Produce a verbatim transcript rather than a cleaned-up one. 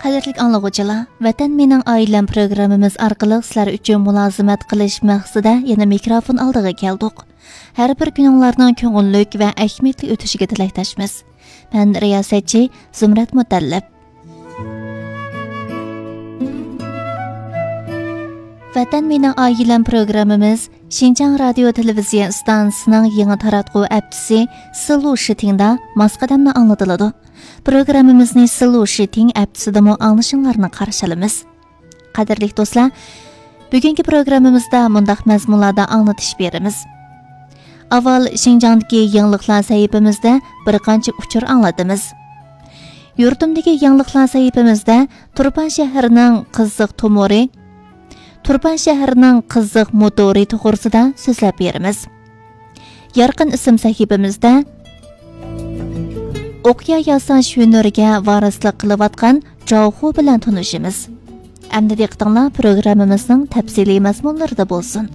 قەدىرلىك ئاڭلىغۇچىلار، ۋەتەن مېنىڭ ئائىلەم پروگراممىمىز ئارقىلىق سىلەر ئۈچۈن مۇلازىمەت قىلىش مەقسىتىدە يەنە مىكروفون ئالدىغا كەلدۇق. ھەر بىر كۈنۈڭلارنىڭ كۆڭۈللۈك ۋە ئەھمىيەتلىك ئۆتۈشىگە تىلەكداشمىز. مەن رىياسەتچى زۇمرەت مۇتەللىپ. ۋەتەن مېنىڭ ئائىلەم پروگراممىمىز شىنجاڭ رادىيو تېلېۋىزىيە ئىستانسىسىنىڭ يېڭى تاراتقۇ ئەپچىسى سىلۇ شىتىڭدا ماس قەدەمدە ئاڭلىتىلىدۇ. پروگراممىمىزنى سىلۇ شىتىڭ ئەپچىسىدىمۇ ئاڭلىشىڭلارنى قارشى ئالىمىز. قەدىرلىك دوستلار، بۈگۈنكى پروگراممىمىزدا مۇنداق مەزمۇنلاردا ئاڭلىتىش بېرىمىز. ئاۋۋال شىنجاڭدىكى يېڭىلىقلار سەھىپىمىزدە بىر قانچە ئۇچۇر ئاڭلىتىمىز. يۇرتۇمدىكى يېڭىلىقلار سەھىپىمىزدە تۇرپان شەھىرىنىڭ قىزىق تومۇرى، تۇرپان شەھىرىنىڭ قىزىق موتورى توغرىسىدا سۆزلەپ بېرىمىز. يارقىن ئىسىم سەھىپىمىزدە ئوقيا ياساش ھۈنىرىگە ۋارىسلىق قىلىۋاتقان جاۋخۇ بىلەن تونۇشىمىز. ئەمدى دىققىتىڭلار پروگراممىمىزنىڭ تەپسىلىي مەزمۇنلىرىدا بولسۇن.